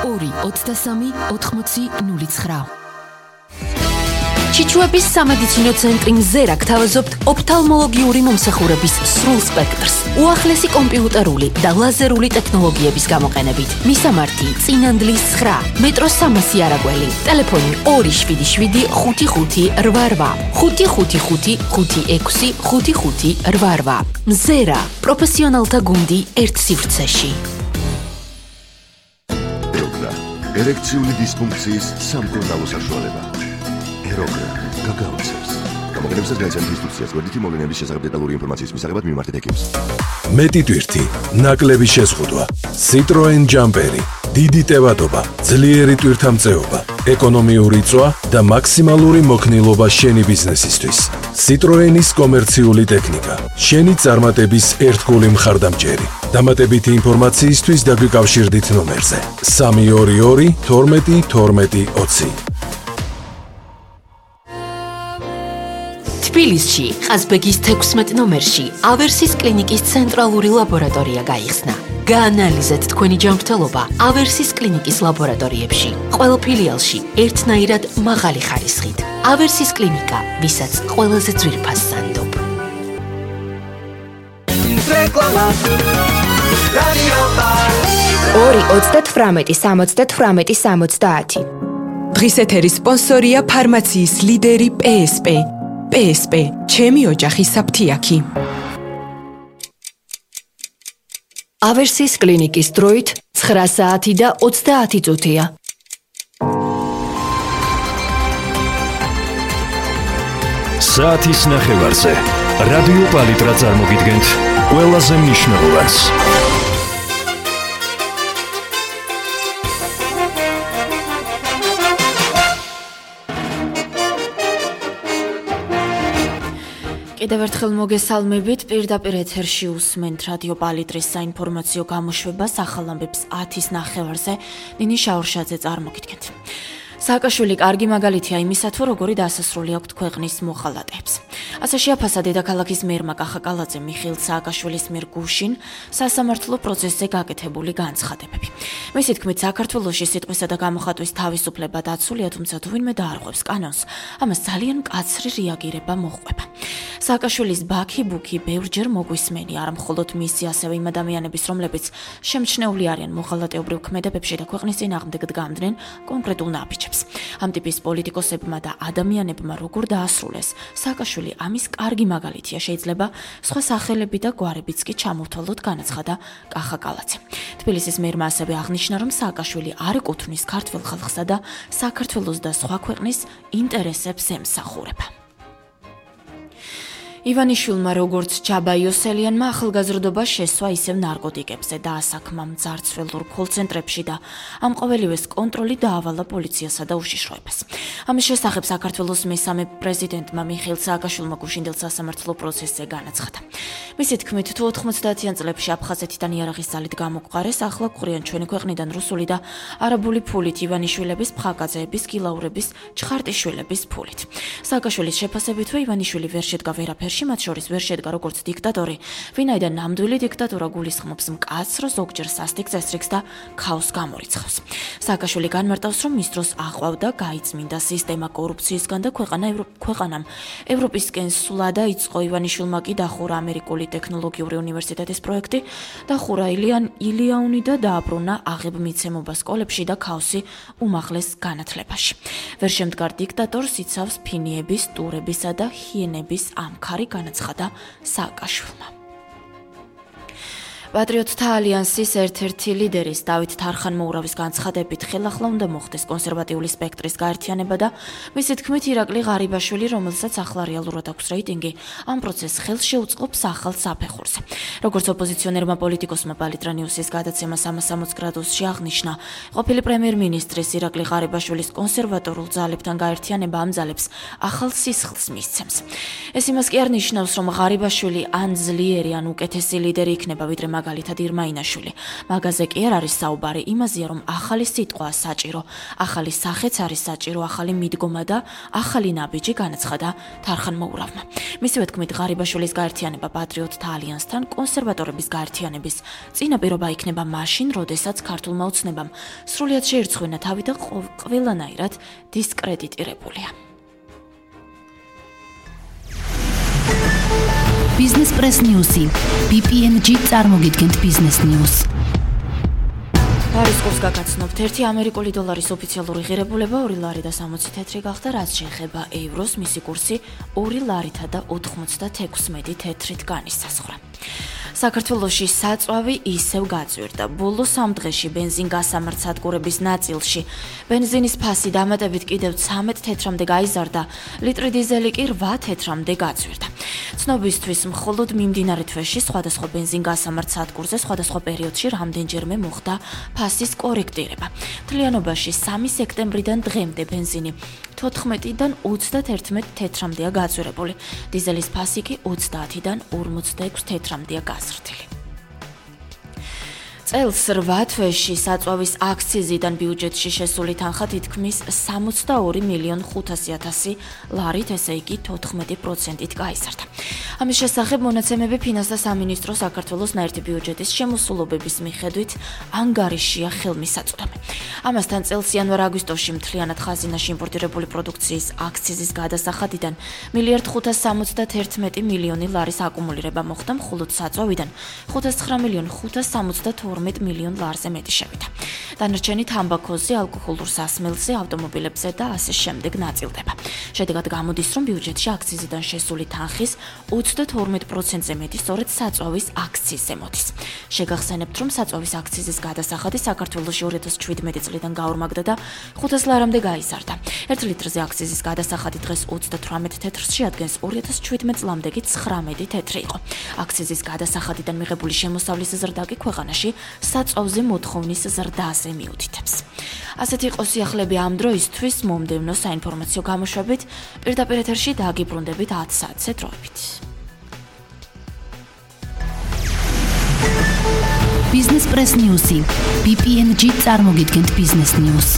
2-23-80-09. ჩიჩუების სამედიცინო ცენტრი მზერა გთავაზობთ ოფთალმოლოგიური მომსახურების სრულ სპექტრს, უახლესი კომპიუტერული და ლაზერული ტექნოლოგიების გამოყენებით. მისამართი: წინანდლის 9, მეტროს 300 არაგველი, ტელეფონი 277 5588 555 56 მზერა, პროფესიონალთა გუნდი ერთ სივრცეში. ერექციული დისფუნქციის სამკურნალო საშუალება. ეროგრა გაგაოცებს. გამოყენებისას განიცადეთ ინსტრუქციას გვერდითი მოვლენების შესახებ დეტალური ინფორმაციის მისაღებად მიმართეთ ექიმს. მეტი ტვირთი, ნაკლები შეზღუდვა, Citroen Jumperi, დიდი ტევადობა, ძლიერი ტვირთამწეობა, ეკონომიური წვა და მაქსიმალური მოქნილობა შენი ბიზნესისთვის. Citroenis კომერციული ტექნიკა, შენი წარმატების ერთგული მხარდამჭერი. დამატებითი ინფორმაციისთვის დაგვიკავშირდით ნომერზე 322 12 12 20. თბილისში, ყაზბეგის 16 ნომერში, ავერსის კლინიკის ცენტრალური ლაბორატორია გაიხსნა. გაანალიზეთ თქვენი ჯანმრთელობა ავერსის კლინიკის ლაბორატორიებში. ყველა ფილიალში ერთნაირად მაღალი ხარისხით. ავერსის კლინიკა, ვისაც ყველაზე ძვირფას სანდობ. რეკლამა. რადიო პალი. 2-38-70-70. დღის ეთერის სპონსორია ფარმაციის ლიდერი PSP. PSP, ჩემი ოჯახის საფთიაქი. ავერსის კლინიკის დროით 9 საათი და 30 წუთია. საათის ნახევარზე რადიო პალიტრა წარმოგიდგენთ ყველაზე მნიშვნელოვანს. კიდევ ერთხელ მოგესალმებით, პირდაპირ ეთერში უსმენთ რადიო პალიტრის საინფორმაციო გამოშვებას ახალ ამბებს 10-ის ნახევარზე ნინი შაურშაძე წარმოგიდგენთ. სააკაშვილი კარგი მაგალითია იმისა, თუ როგორი დასასრული აქვთ ქვეყნის მოხალატეებს. ასე შეაფასა დედაქალაქის მერმა კახაკალაძე მიხეილ სააკაშვილის მიერ გუშინ სასამართლო პროცესზე გაკეთებული განცხადებები. მისი თქმით, საქართველოში სიტყვისა და გამოხატვის თავისუფლება დაცულია, თუმცა თუ ვინმე დაარღვევს კანონს, ამას ძალიან მკაცრი რეაგირება მოჰყვება. სააკაშვილის ბაქი-ბუქი ბევრჯერ მოგვისმენი, არა მხოლოდ მისი, ასევე იმ ადამიანების, რომლებიც შემჩნეული არიან მოხალატეობრივ ქმედებებში და ქვეყნის წინააღმდეგ დგამდნენ კონკრეტულ ნაბიჯებს. ამ ტიპის პოლიტიკოსებმა და ადამიანებმა როგორ დაასრულეს, სააკაშვილი ამის კარგი მაგალითია, შეიძლება სხვა სახელები და გვარებიც კი ჩამოვთვალოთ, განაცხადა კახაკალაძე. თბილისის მერმა ასევე აღნიშნა, რომ სააკაშვილი არ ეკუთვნის ქართველ ხალხსა და საქართველოს და სხვა ქვეყნის ინტერესებს ემსახურება. ივანიშვილმა როგორც ჯაბა იოსელიანმა ახალგაზრდობა შესვა ისევ ნარკოტიკებზე და ასაკმა მძარცველურ კოლცენტრებში და ამ ყოველივეს კონტროლი დაავალა პოლიციასა და უშიშროებას. ამის შესახებ საქართველოს მესამე პრეზიდენტმა მიხეილ სააკაშვილმა გუშინდელ სასამართლო პროცესზე განაცხადა. მისი თქმით, თუ 90-იან წლებში აფხაზეთიდან იარაღის ძალით გამოგვყარეს, ახლა გვყრიან ჩვენი ქვეყნიდან რუსული და არაბული ფულით ივანიშვილების, ფხაკაძეების, გილაურების, ჩხარტიშვილების ფულით. სააკაშვილის შეფასებით, ივანიშვილი ვერ შედგა ვერაფერში, მათ შორის ვერ შედგა როგორც დიქტატორი, ვინაიდან ნამდვილი დიქტატურა გულისხმობს მკაცრ, ზოგჯერ სასტიკ წესრიგს და ქაოსს გამორიცხავს. სააკაშვილი განმარტავს, რომ მის დროს აყვავდა გაიწმინდა სისტემა კორუფციისგან და ქვეყანამ ევროპისკენ სულა და იწყო ივანიშვილმა კი დახურა ამერიკული ტექნოლოგიური უნივერსიტეტის პროექტი, დახურა ილიანი და დააბრუნა აღებმიცემობა სკოლებში და ქაოსი უმაღლეს განათლებაში. ვერ შემდგარ დიქტატორს იცავს ფინიების, ტურებისა და ჰიენების ამქარი, განაცხადა სააკაშვილმა. პატრიოტთა ალიანსის ერთ-ერთი ლიდერის დავით თარხან-მოურავის განცხადებით ხელახლა უნდა მოხდეს კონსერვატიული სპექტრის გაერთიანება და მისი თქმით ირაკლი ღარიბაშვილი, რომელსაც ახლა რეალურად აქვს რეიტინგი, ამ პროცესს ხელს შეუწყობს ახალ საფეხურზე. როგორც ოპოზიციონერმა პოლიტიკოსმა პალიტრა ნიუსის გადაცემა 360 გრადუსში აღნიშნა, ყოფილი პრემიერ-მინისტრის ირაკლი ღარიბაშვილის კონსერვატორულ ძალებთან გაერთიანება ამ ძალებს ახალ სისხლს მისცემს. ეს იმას კი არ ნიშნავს, რომ ღარიბაშვილი ან ძლიერი ან უკეთესი ლიდერი იქნება, ვიდრე მაგალითად ირმა ინაშვილი. მაგაზე კი არ არის საუბარი იმაზეა, რომ ახალი სიტყვაა საჭირო, ახალი სახეც არის საჭირო, ახალი მიდგომა და ახალი ნაბიჯი განაცხადა თარხან მოურავმა. მისივე თქმით, ღარიბაშვილის გაერთიანება პატრიოტთა ალიანსთან კონსერვატორების გაერთიანების წინაპირობა იქნება მაშინ, როდესაც ქართულმა ოცნებამ სრულიად შეირცხვენა თავი და ყველანაირად დისკრედიტირებულია. Business Press News-ი. BPNG წარმოგიდგენთ Business News. არის კურსს გაგაცნობთ 1 ამერიკული დოლარის ოფიციალური ღირებულება 2 ლარი და 60 თეთრი გახდა, რაც შეეხება ევროს, მისი კურსი 2 ლარითა და 96 თეთრით განისაზღვრა. საქართველოში საწვავი ისევ გაწვირდა. ბოლო 3 დღეში ბენზინ-გასამართ-სადგურების ნაწილში ბენზინის ფასი დამატებით კიდევ 13 თეთრამდე გაიზარდა, ლიტრი დიზელი კი 8 თეთრამდე გაწვირდა. ცნობისთვის, მხოლოდ მიმდინარე თვეში სხვადასხვა ბენზინ-გასამართ-სადგურზე სხვადასხვა პერიოდში რამდენჯერმე მოხდა ფასის კორექტირება. მთლიანობაში 3 სექტემბრიდან დღემდე ბენზინი 14-დან 31 თეთრამდეა გაწვირებული. დიზელის ფასი კი 30-დან 46 თეთრამდეა გაზრდილი. წელს 8 თვეში საწვავის აქციზიდან ბიუჯეტში შესული თანხა თითქმის 62.500.000 ლარით, ესე იგი 14%-ით გაიზარდა. ამის შესახებ მონაცემები ფინანსთა სამინისტროს საქართველოს ნაერთი ბიუჯეტის შემოსულობების მიხედვით ანგარიშია ხელმისაწვდომი. ამასთან წელს იანვარ-აგვისტოში მთლიანად ხაზინაში იმპორტირებული პროდუქციის აქციზის გადასახადიდან 1.571 ლარის აკუმულირება მოხდა, მხოლოდ საწვავიდან 509.572 ლარზე მეტი შევიდა. დანარჩენი თამბაქოზე, ალკოჰოლურ სასმელზე, ავტომობილებზე და ასე შემდეგ ნაწილდება. შედეგად გამოდის, რომ ბიუჯეტში აქციზიდან შესული თანხის 32%-ზე მეტი სწორედ საწვავის აქციზზე მოდის. შეგახსენებთ, რომ საწვავის აქციზის გადასახადი საქართველოში 2017 წლიდან გაორმაგდა და 500 ლარამდე გაიზარდა. 1 ლიტრზე აქციზის გადასახადი დღეს 38 თეთრს შეადგენს, 2017 წლამდე კი 19 თეთრი იყო. აქციზის გადასახადიდან მიღებული შემოსავლის ზრდა კი ქვეყანაში საწვავზე მოთხოვნის ზრდაზე მიუთითებს. ასეთი იყო სიახლეები ამ დროისთვის, მომდევნო საინფორმაციო გამოშვებით პირდაპირ ეთერში დააგიბრუნდებით 10 საათზე დროებით. Business Press News-ი. BPNG წარმოგიდგენთ Business News.